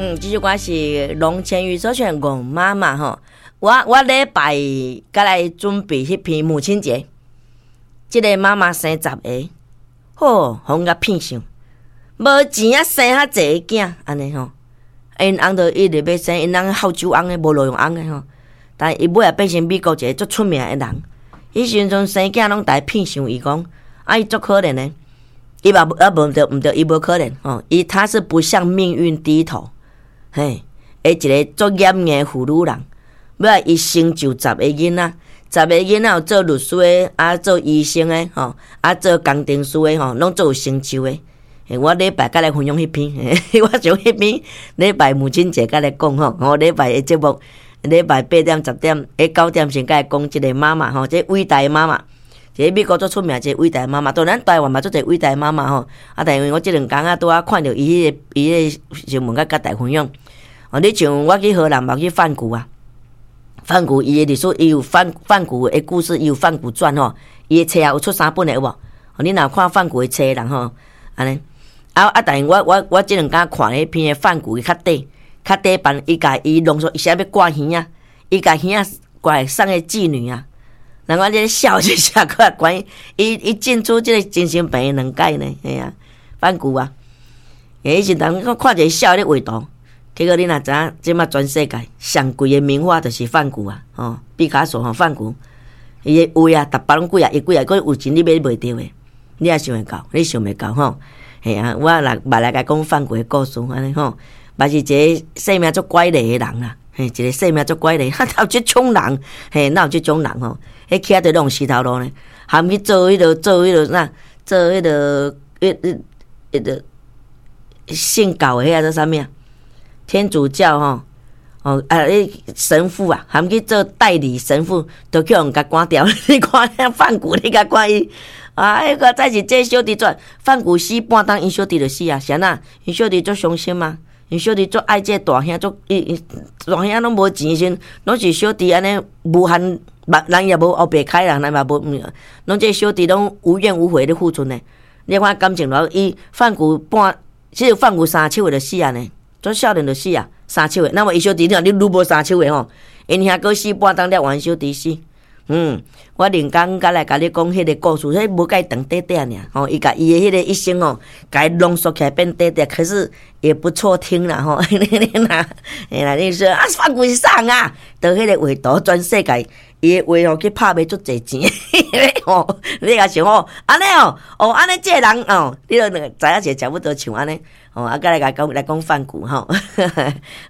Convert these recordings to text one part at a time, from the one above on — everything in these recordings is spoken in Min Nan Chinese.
嗯，這首歌是龍千語所唱《戇媽媽》吼。我禮拜閣來準備彼篇母親節，這个媽媽生十个，好，予阮共騙想，無錢啊生較濟个囝，按呢吼。𪜶翁就一直欲生，𪜶翁好酒翁的，無路用翁的吼。但伊尾仔變成美國一个足出名的人。彼時陣生囝攏逐个騙想伊講，啊伊足可憐的，伊嘛啊無毋對毋對，伊無可憐吼，伊他是不向命運低頭，嘿，的一个足嚴的婦女人。尾仔伊成就十个囡仔，十个囡仔有做律師的，啊做醫生的，吼，啊做工程師的，吼，攏足有成就的。我禮拜閣來分享彼篇，我想彼篇禮拜母親節閣來講吼，我禮拜的節目，禮拜8點10點，9點先閣來講這个媽媽吼，這偉大的媽媽，一個美國足出名一个偉大的媽媽，當然台灣嘛足濟偉大的媽媽吼，啊，但因為我這兩工啊拄仔看著伊彼个伊彼個新聞，閣佮大家分享。哦，你像我去荷蘭嘛去梵谷啊，梵谷伊的歷史，伊有梵谷的故事，伊有梵谷傳吼，伊的冊也有出三本的有無？哦，你若看梵谷的冊人吼，按呢。啊啊！但是我這兩工看彼篇的梵谷，伊較短，較短版，伊共伊濃縮，伊啥欲割耳仔，伊共耳仔割送予妓女啊。人講這个笑一下，過來關伊伊進出這个精神病院兩擺呢，嘿啊，梵谷啊。欸，彼時陣我看一个痟咧畫圖，結果你若知影，這馬全世界上貴的名畫就是梵谷啊，吼，畢卡索吼，梵谷，伊的畫啊，逐擺攏幾仔億幾仔億，閣有錢你買袂著的，你也想會到，你想袂到吼。嘿啊，我來捌來共講梵谷的故事，按呢吼，嘛是一个生命足怪異的人啊，嘿，一个生命足怪異，哈，有這種人，嘿，哪有這種人吼？彼徛佇拢石頭路呢，含去做彼个做彼个啥，做彼个彼彼彼个信教的彼个做啥物啊？天主教吼，哦啊，彼神父啊，含去做代理神父，都去予人共趕掉。你看遐梵谷，你共看伊。啊！彼个再是這小弟做梵谷死半冬，𪜶小弟就死啊！是按怎？𪜶小弟足傷心啊！𪜶小弟足愛這个大兄，足伊伊大兄攏無錢時陣，攏是小弟按呢無限，人也無烏白開啦，人嘛無，攏這小弟攏無怨無悔咧付出呢。你看感情偌伊梵谷半，這個梵谷三手的就死啊呢，足少年就死啊，三手的。那麼伊小弟你愈無三手的吼，𪜶兄閣死半冬了，換小弟死。嗯，我另工閣來共你講彼个故事，彼無介長短短爾，吼，伊共伊的彼个一生吼，共伊濃縮起來變短短，可是也不錯聽啦吼。你若，嘿啦，你說啊，梵谷是啥人啊？就彼个畫圖，全世界伊的畫吼去拍賣足濟錢，吼，你若想哦，按呢哦，哦，按呢這个人哦，你著知影者差不多像按呢，吼，啊，閣來共講來講梵谷吼，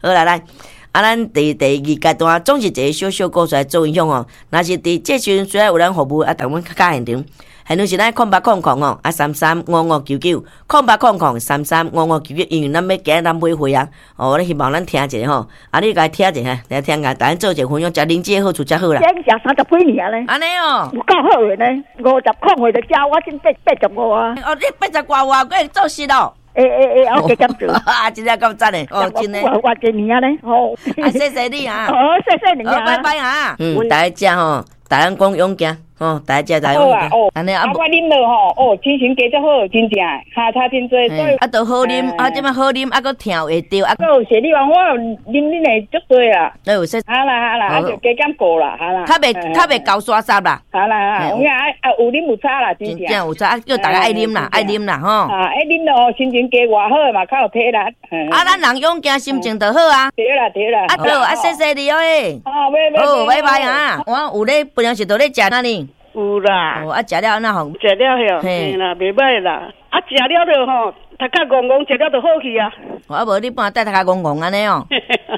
好啦，來。啊，咱佇第二階段總是一个小小故事來做分享吼。若是佇這時陣需要有咱服務，啊，逐阮較現場，現場是咱0800吼，啊335599，0800335599，因為咱欲今仔咱買會啊，哦，咱希望咱聽一下吼，啊，你共聽一下，來聽下，逐咱做一個分享，食靈芝的好處才好啦。食30幾年咧，按呢哦，有夠好的呢，50歲就食，我先85啊。哦，你八十外歲，閣會做事咯？會會會，我加減做。啊，真正夠讚的，哦，真的。偌濟年啊咧，吼。啊，謝謝你啊。好，謝謝你啊。拜拜啊。嗯，大家食吼，大家講勇健，吼，大家食大家勇健。按呢啊，我啉落吼，哦，精神加足好，真正，哈差真濟。啊，都好啉，啊，這擺好啉，啊，閣疼會著，啊。閣有謝你話，我啉恁的足濟啦。都有說。好啦好啦，啊就加減過啦，好啦。較袂厚沙沙啦。好啦好啦，有影啊有啉有差啦，真正有差，啊叫大家愛啉啦，愛啉啦吼。啊，愛啉咯，心情加偌好嘛，較有體力。啊，咱人勇健，心情就好啊。對啦對啦。啊好，啊謝謝你哦，欸。好，拜拜。好，拜拜啊。我有咧，平常時都咧食哪呢？有啦。哦，啊，食了按怎吼？食了吼，嘿啦，袂䆀啦。啊，食了就吼，頭殼戇戇，食了就好去啊。啊無你半帶頭殼戇戇按呢哦。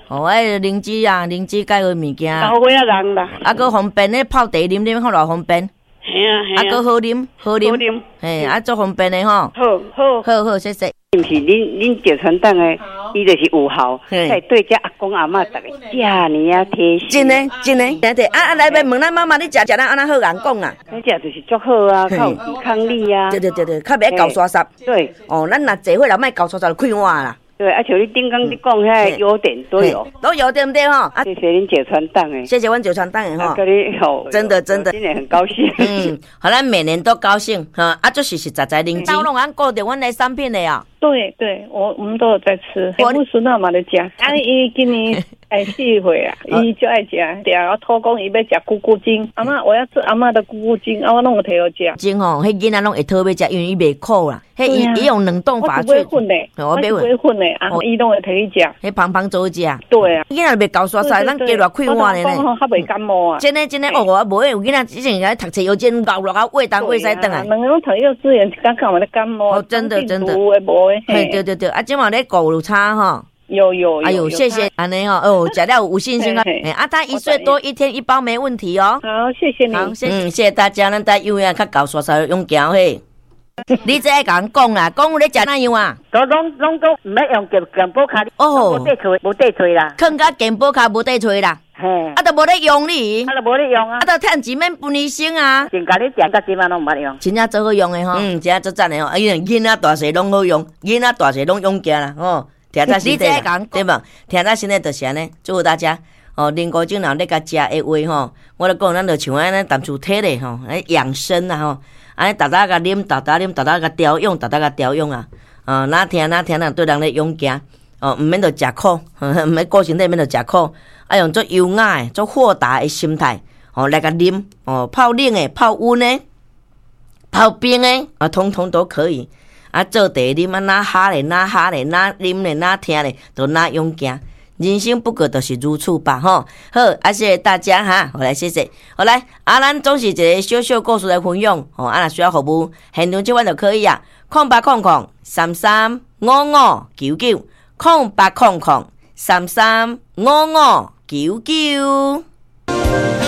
哦，彼靈芝啊，靈芝鈣的物件。老歲仔人啦。啊，閣方便咧泡茶啉啉，看偌方便。嘿啊嘿啊。啊，閣好啉，好啉。好啉。嘿，啊，足方便的吼。好，好。好好，謝謝。毋是恁趙傳統的，伊就是有孝，才對這阿公阿嬤逐个遮爾仔貼心。真的，真的，對對。啊啊，來欲問咱媽媽，你食食咱按怎好人講啊？你食就是足好啊，較有抵抗力啊。對對對對，較袂厚沙沙。對。哦，咱若坐伙人莫厚沙沙就快活啦。對，啊，像你頂工你講遐優點都有，都有對毋對吼？啊，謝謝恁石川董的，謝謝阮石川董的吼。佮你吼，真的真的，今年很高興。嗯，予咱每年都高興哈，啊，就是實實在在認真。攏按顧著阮的產品的啊。對對，我們都有在吃。我孫仔嘛咧食，啊，伊今年會4歲啊，伊就愛食，定我托講伊欲食菇菇精，阿嬤我要吃阿嬤的菇菇精，啊我攏有提予食。精吼，彼囡仔攏會討欲食，因為伊袂苦啦。彼伊用冷凍法我買粉的，我買粉的，啊，伊攏會提去食。彼芳芳做食。對啊，囡仔袂厚沙沙，咱加熱開碗的呢。較袂感冒啊。真的真的，哦，我無有囡仔之前來讀冊幼稚園熬落啊，胃東胃西轉來。兩个攏讀幼稚園，剛剛嘛咧感冒。哦，真的真的。有的無的。嘿，對對對，啊，這馬咧顧有差吼。有有，哎呦，謝謝，按呢吼，哦，食了有信心啊！啊，他1歲多，一天一包沒問題哦。好，謝謝你。好，謝謝，謝謝大家，咱帶有影較厚沙沙勇健嘿。你這愛共人講啦，講有咧食哪樣啊？都攏攏講毋免用健保卡，哦，無得揣，無得揣啦。囥佮健保卡無得揣啦。嘿，啊，都無咧用你，啊，都無咧用啊，啊，都趁錢免分醫生啊。真共你食到這擺攏毋捌用，真正做好用的吼。嗯，真正足讚的吼。啊，因為囡仔大細攏好用，囡仔大細攏勇健啦，吼。疼在身體啦，對無？疼在身體就是按呢，祝福大家哦。人工智能咧共食的話吼，我咧講，咱就像按呢淡薄體咧吼，來養生啊吼，按呢逐逐共啉，逐逐啉，逐逐共調養，逐逐共調養啊。啊，若疼若疼，若對人咧勇健哦，毋免著食苦，毋免顧身體免著食苦，啊用足優雅的、足豁達的心態哦來共啉哦，泡冷的、泡溫的、泡冰的啊，統統都可以。啊，做茶啉啊，若哈咧，若哈咧，若啉咧，若聽咧，都若勇健。人生不過就是如此吧，吼。好，啊，謝謝大家哈，好來謝謝。好來，啊，咱總是一個小小故事來分享，吼，啊，若需要服務，現場這款就可以啊。0800335599，0800335599。